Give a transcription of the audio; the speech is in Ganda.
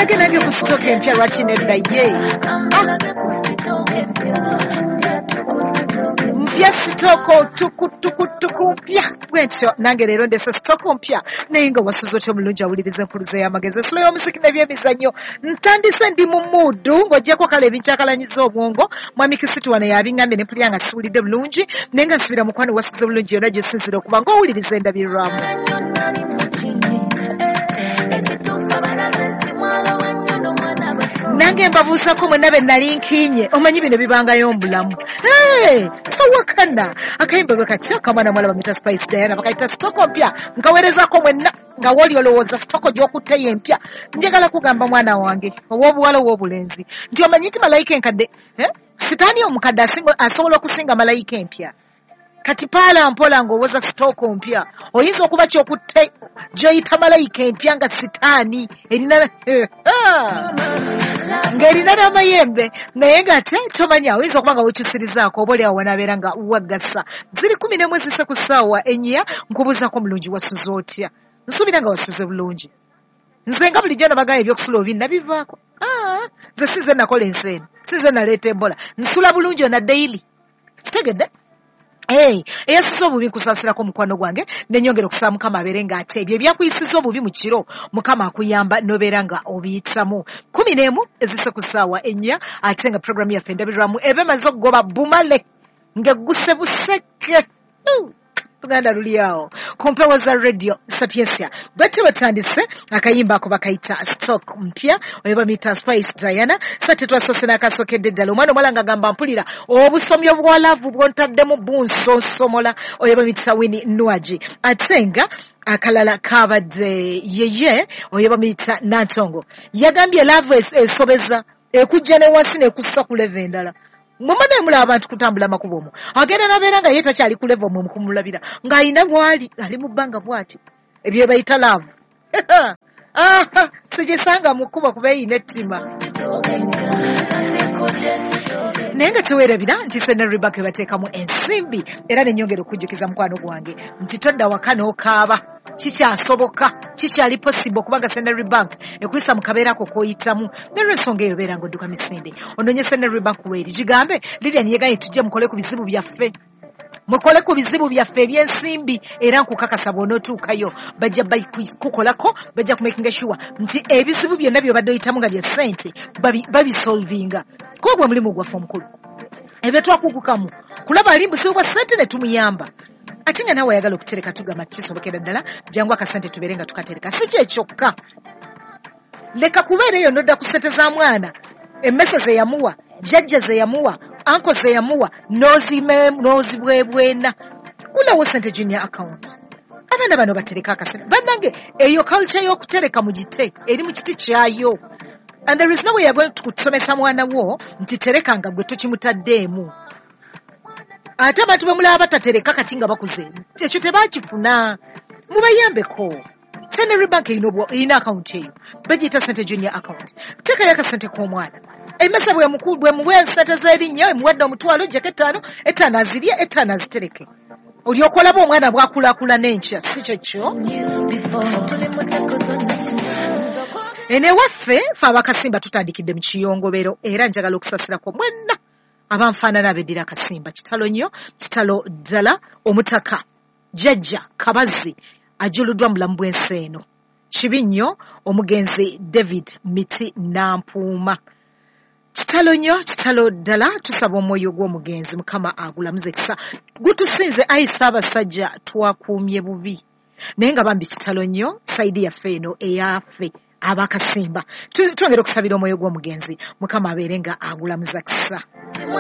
Kambalage nange ku sitooka empya, lwaki nedda ye? Mpya sitooko tukutukutuku mpya bwentyo nange leero ndese sitooko mpya. Naye nga wasuze otya omulungi awuliriza enkuluza y'amagezi, esula y'omuziki n'ebyemizannyo? Ntandise ndi mu muudu ng'oggyeko kale ebinkyakalanyizza obwongo. Mwami Kisitu wano yabiŋŋambye ne mpulira nga siwulidde bulungi, naye nga nsubira mukwano wasuze bulungi yonna gy'osinziira okuba ng'owuliriza endabirwamu. Nange mbabuuzako mwenna be nali nkiinye, omanyi bino bibangayo mu bulamu. Tawakana akayimba bwe katya akamwana mwala bamita Spice Diana bakayita sitoko mpya. Nkaweerezako mwenna nga wooli olowooza sitoko gy'okutteyo empya. Njagala kugamba mwana wange ow'obuwala ow'obulenzi nti omanyi nti malayika enkadde, sitaani omukadde asobola okusinga malayika empya. Kati paala mpola ng'owoza sitooko mpya, oyinza okuba kyokutte gy'oyita malayika empya nga sitaani erina ng'erina n'amayembe, naye ng'ate tomanya oyinza okuba nga wekyusirizaako oba oli awo wanaabeera nga waggasa. Ziri 11 zise ku ssaawa 4. Nkubuuzaako omulungi wasuze otya? Nsuubira nga wasuze bulungi. Nze nga bulijjo nabagamba ebyokusula obi nabivaako. Nze si nze nakola ensi eno, si nze naleeta embola, nsula bulungi ona daily. Kitegedde? Eyasuze obubi nkusaasirako mukwano gwange, nenyongera okusaba Mukama abeere ng'ate ebyo ebyakuyisiza obubi mu kiro Mukama akuyamba n'obeera nga obiyitamu. 11 ezise ku ssaawa 4, ate nga puroguramu yaffe endabirwamu eba emaze okugoba bumale ng'egguse buseke. Luganda luli awo ku mpewo za Radio Sapiensia. Bwetyo batandise akayimba ako bakayita stock mpya, oyo bamuyita Spice Diana. Sate twasoose n'akasookedde ddala omwana omuwala ng'agamba mpulira obusomi obwa laavu bw'ontaddemu bunsonsomola, oyo bamuyita Winnie Nwagi. Ate nga akalala kabadde yeye oyo bamuyita Nantongo, yagambye laavu esobeza ekujja ne wansi n'ekussa ku leve endala. Mumane mulaba abantu kutambula amakubo omwo, agenda n'abeera nga ye takyali ku level omwo mukumulabira ng'alina bw'ali ali mu bbanga bw'ati, ebyo bayita laavu. Sigisanga mu kkubo kuba eyina ettima. Naye nga teweerabira nti Centenary Bank ebateekamu ensimbi, era nenyongera okujjukiza mukwano gwange nti todda waka n'okaaba, kikyasoboka, kikyali possible okubanga Centenary Bank ekuyisa mu kabeera ako k'oyitamu. N'olwensonga eyo beera ng'odduka misinde onoonye Centenary Bank weeri, gigambe Lilian yegaye tujje mukole ku bizibu byaffe, mukole ku bizibu byaffe eby'ensimbi, era nkukakasa bw'onootuukayo bajja kukolako, bajja kumakinga sure nti ebizibu byonna by'obadde oyitamu nga bya ssente babisolvinga. Kuba gwe mulimu gwaffe omukulu, ebyo twakugukamu kulaba ali buzibu bwa ssente ne tumuyamba. Ate nga naawe ayagala okutereka tugamba kisobokera ddala, jangu akasente tubeere nga tukatereka. Si kye kyokka, leka kubeera eyo n'odda ku ssente za mwana, emmese ze yamuwa, jjajja ze yamuwa, anko ze yamuwa, n'ozibwebwena. Gulawo sente junior account, abaana bano batereka akasente. Bannange eyo culture y'okutereka mugite eri mu kiti kyayo. And there is no way you're going to kusomesa mwana wo nti tereka nga gwe tokimutaddeemu. Ate abantu bwe mulaba batatereka kati nga bakuze, ekyo tebakifuna, mubayambeko. Centenary Bank erina akawunti eyo bagiyita sente junior account. Teekayo akasente k'omwana, emmese bwe muwa ensente z'erinnya, emuwadde omutwalo, jjako 5, 5 azirye, 5 azitereke, olyoka olaba omwana bw'akulaakulana n'enkya. Si kyekyo? Eno ewaffe ffe abakasimba tutandikidde mu kiyongobero, era njagala okusasirako mwenna abanfaanana abeddira akasimba. Kitalo nnyo, kitalo ddala. Omutaka jjajja Kabazi ajuluddwa mu bulamu bw'ensi eno. Kibi nnyo omugenzi David Miti Nampuuma. Kitalo nnyo, kitalo ddala. Tusaba omwoyo gw'omugenzi Mukama agulamuze ekisa. Gutusinze ayi Ssaabasajja, twakuumye bubi. Naye nga bambi kitalo nnyo sayidi yaffe eno eyaffe abakasimba. Twongera okusabira omwoyo gw'omugenzi Mukama abeere nga agulamuza kisa.